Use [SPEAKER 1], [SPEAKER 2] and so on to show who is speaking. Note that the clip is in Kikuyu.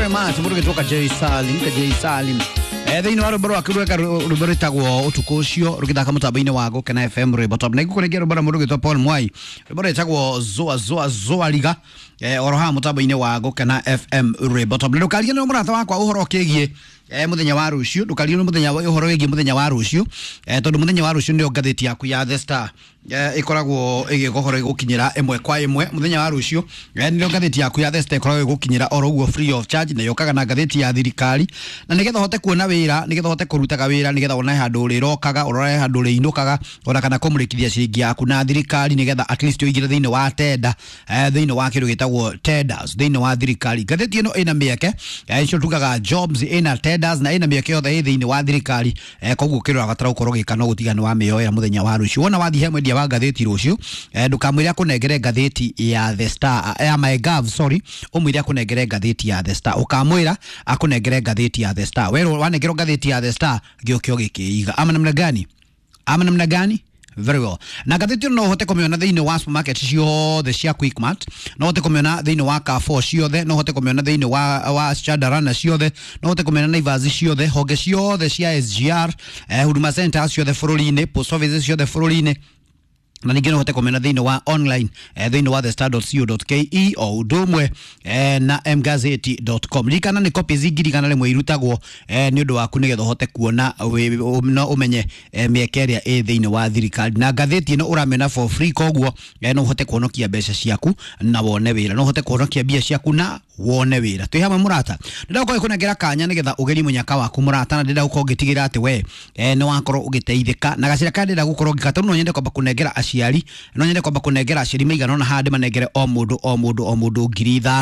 [SPEAKER 1] very much. Mũndũ gĩtwo Kajei Salim, Kajei Salim. Thĩinĩ wa rwĩmbo rwake rweka rwĩmbo rwĩtagwo ũtukũ ũcio rũgĩthaka mũtambo-inĩ wa Gũkena FM rwĩmbo top. Na igũkũrĩngia rwĩmbo rwa mũndũ gĩtwo Paul Mwai, rwĩmbo rwĩtagwo Zoa Zoa Zoa Riga, oro haha mũtambo-inĩ wa Gũkena FM rwĩmbo top. Na ndũkariganĩrwo mũrata wakwa ũhoro ũkĩgiĩ mũthenya wa rũciũ, ndũkariganĩrwo mũthenya ũhoro wĩgiĩ mũthenya wa rũciũ, tondũ mũthenya wa rũciũ nĩyo ngathĩti yaku ya The Star ĩkoragwo ĩgĩkohoro ĩgũkinyĩra ĩmwe kwa ĩmwe mũthenya wa rũciũ. Nĩrĩo ngathĩti yaku ya The Star ĩkoragwo ĩgũkinyĩra oro ũguo free of charge, na yũkaga na ngathĩti ya thirikari, na nĩgetha ũhote kuona wĩra, nĩgetha ũhote kũrutaga wĩra, nĩgetha wone handũ ũrĩrokaga, ũrore handũ ũrĩinũkaga, ona kana kũmũrĩkithia ciringi yaku na thirikari, nĩgetha at least ũingĩre thĩinĩ wa tenda, thĩinĩ wa kĩndũ gĩtagwo tenders thĩinĩ wa thirikari. Ngathĩti ĩno ĩna mĩeke, icio tugaga jobs, ĩna tenders na ĩna mĩeke yothe ĩ thĩinĩ wa thirikari. Koguo kĩrĩa ũrabatara gũkorwo ũgĩka no gũtiga nĩ wamĩoera mũthenya wa rũciũ. Wona wathiĩ he mwendia wa ngathĩti rũciũ, ndũkamwĩre akũnengere ngathĩti ya The Star, ya MyGov, sorry, ũmwĩre akũnengere ngathĩti ya The Star. Ũkamwĩra akũnengere ngathĩti ya The Star, werwo wanengerwo ngathĩti ya The Star gĩũke ũgĩkĩiga. Ama namna gani? Ama namna gani? Very well. Na ngathĩti ĩno no ũhote kũmĩona thĩinĩ wa supermarket ciothe cia Quickmart, no ũhote kũmĩona thĩinĩ wa Carrefour ciothe, no ũhote kũmĩona thĩinĩ wa Chandarana ciothe, no ũhote kũmĩona Naivas ciothe, honge ciothe cia SGR, Huduma Center ciothe bũrũri-inĩ, post offices ciothe bũrũri-inĩ, na ningĩ no ũhote kũmĩona thĩinĩ wa online, thĩinĩ wa thestar.co.ke o ũndũ ũmwe, na mgazeti.com. Ririkana nĩ copies 100,000 irutagwo, nĩ ũndũ waku nĩgetha ũhote kuona no ũmenye, mĩeke ĩrĩa ĩ thĩinĩ wa thirikari. Na ngathĩti ĩno ũramĩona for free, koguo no ũhote kuonokia mbeca ciaku na wone wĩra, no ũhote kuonokia mbia ciaku na wone wĩra. Twĩ hamwe mũrata, ndĩrenda gũkorwo ngĩkũnengera kanya nĩgetha ũgerie mũnyaka waku mũrata, na ndĩrenda gũkorwo ngĩtigĩra atĩ we, nĩ wakorwo ũgĩteithĩka na gacĩra karĩa ndĩrenda gũkorwo ngĩka. Tondũ no nyende kwamba kũnengera aciari, no nyende kwamba kũnengera aciari maigana ũna haha, ndĩmanengere o mũndũ o mũndũ o mũndũ 5,000.